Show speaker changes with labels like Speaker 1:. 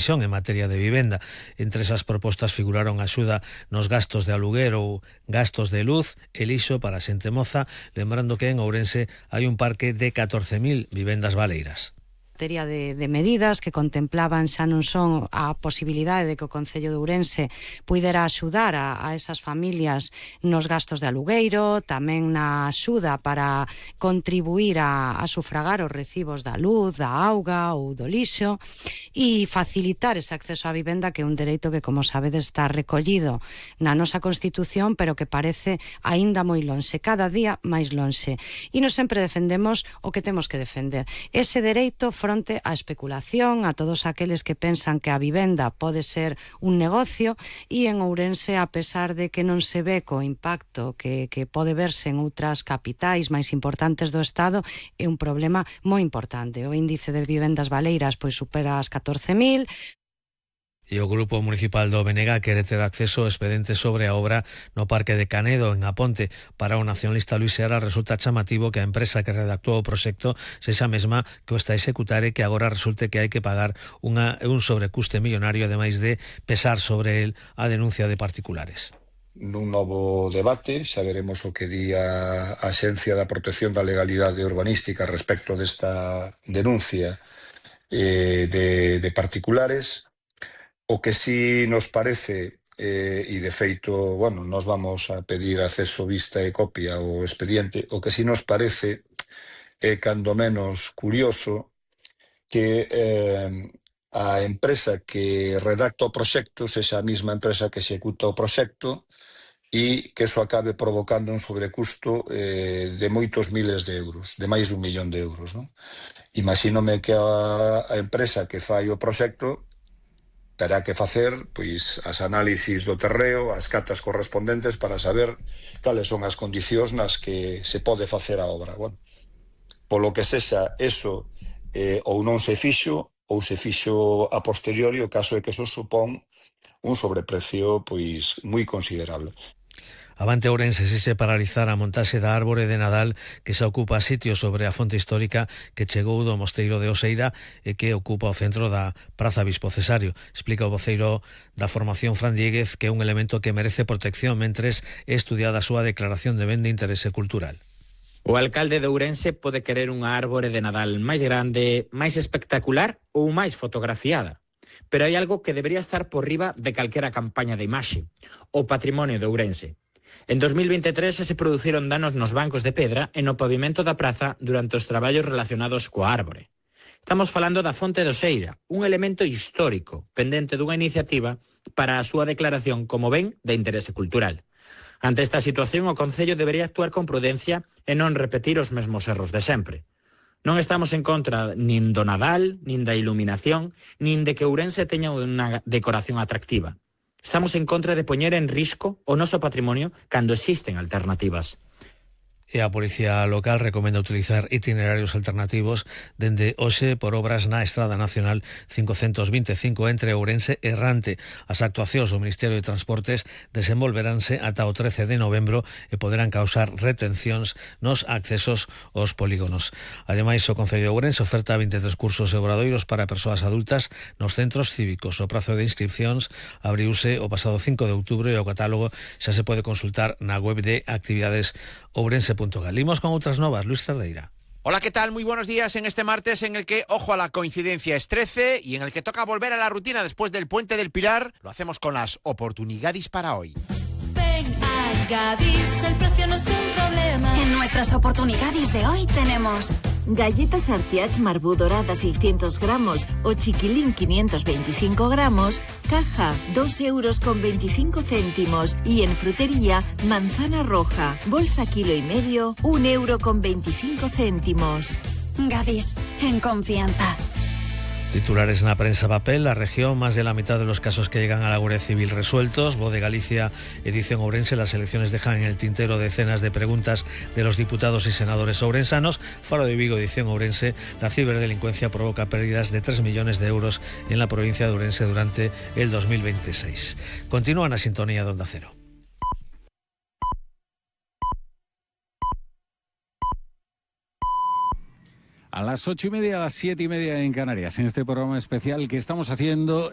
Speaker 1: en materia de vivenda. Entre esas propostas figuraron axuda nos gastos de aluguer ou gastos de luz e lixo para a xente moza, lembrando que en Ourense hai un parque de 14.000 vivendas baleiras.
Speaker 2: Materia de medidas que contemplaban xa non son a posibilidade de que o Concello de Ourense puidera axudar a esas familias nos gastos de alugueiro, tamén na axuda para contribuir a sufragar os recibos da luz, da auga ou do lixo e facilitar ese acceso á vivenda, que é un dereito que, como sabedes, está recollido na nosa Constitución, pero que parece aínda moi lonxe, cada día máis lonxe. E nos sempre defendemos o que temos que defender, ese dereito fronte á especulación, a todos aqueles que pensan que a vivenda pode ser un negocio, e en Ourense, a pesar de que non se ve co impacto que pode verse en outras capitais máis importantes do Estado, é un problema moi importante. O índice de vivendas baleiras pois supera as 14.000.
Speaker 1: E o Grupo Municipal do BNG quere ter acceso ao expediente sobre a obra no Parque de Canedo, en Aponte. Para o nacionalista Luis Seara resulta chamativo que a empresa que redactou o proxecto sexa a mesma que o está a executar e que agora resulte que hai que pagar un sobrecuste millonario, ademais de pesar sobre el a denuncia de particulares.
Speaker 3: Nun novo debate xa veremos o que di a Axencia da Protección da Legalidade Urbanística respecto desta denuncia de particulares. O que sí nos parece, e de feito, bueno, nos vamos a pedir acceso, vista e copia ao expediente, o que sí nos parece é cando menos curioso que a empresa que redacta o proxecto sexa a mesma empresa que executa o proxecto e que eso acabe provocando un sobrecusto de moitos miles de euros, de máis de 1 millón de euros, non? Imagínome que a empresa que fai o proxecto terá que facer pois as análisis do terreo, as catas correspondentes para saber cales son as condicións nas que se pode facer a obra. Bueno, polo que sexa eso ou non se fixo, ou se fixo a posteriori, o caso é que eso supón un sobreprecio pois moi considerable.
Speaker 1: Avante Ourense se paralizar a montaxe da árbore de Nadal que se ocupa sitio sobre a fonte histórica que chegou do mosteiro de Oseira e que ocupa o centro da Praza Bispo Cesario. Explica o voceiro da formación Fran Diéguez que é un elemento que merece protección mentres é estudiada a súa declaración de ben de interese cultural.
Speaker 4: O alcalde de Ourense pode querer unha árbore de Nadal máis grande, máis espectacular ou máis fotografiada. Pero hai algo que debería estar por riba de calquera campaña de imaxe: o patrimonio de Ourense. En 2023 se produciron danos nos bancos de pedra e no pavimento da praza durante os traballos relacionados coa árbore. Estamos falando da fonte de Oseira, un elemento histórico pendente dunha iniciativa para a súa declaración como ben de interese cultural. Ante esta situación, o Concello debería actuar con prudencia e non repetir os mesmos erros de sempre. Non estamos en contra nin do Nadal, nin da iluminación, nin de que Ourense teña unha decoración atractiva. Estamos en contra de poñer en risco o noso patrimonio cando existen alternativas.
Speaker 1: E a Policía Local recomenda utilizar itinerarios alternativos dende hoxe por obras na Estrada Nacional 525 entre Ourense e Errante. As actuacións do Ministerio de Transportes desenvolveránse ata o 13 de novembro e poderán causar retencións nos accesos aos polígonos. Ademais, o Concello de Ourense oferta 23 cursos e obradoiros para persoas adultas nos centros cívicos. O prazo de inscripcións abriuse o pasado 5 de outubro e o catálogo xa se pode consultar na web de actividades ourense.gal. Limos con otras novas, Luis Cerdeira.
Speaker 5: Hola, ¿qué tal? Muy buenos días en este martes en el que, ojo a la coincidencia, es 13 y en el que toca volver a la rutina después del Puente del Pilar. Lo hacemos con las oportunidades para hoy.
Speaker 6: Ven a Gadis, el precio no es un problema.
Speaker 7: En nuestras oportunidades de hoy tenemos
Speaker 8: galletas Artiach Marbú dorada 600 gramos o chiquilín 525 gramos, caja 2,25 €. Y en frutería, manzana roja, bolsa 1,5 kg, 1,25 €.
Speaker 7: Gadis, en confianza.
Speaker 1: Titulares en la prensa papel, la región, más de la mitad de los casos que llegan a la Guardia Civil resueltos. Voz de Galicia, edición Ourense, las elecciones dejan en el tintero decenas de preguntas de los diputados y senadores ourensanos. Faro de Vigo, edición Ourense, la ciberdelincuencia provoca pérdidas de 3 millones de euros en la provincia de Ourense durante el 2026. Continúan a sintonía de Onda Cero.
Speaker 9: A las 8:30, a las 7:30 en Canarias, en este programa especial que estamos haciendo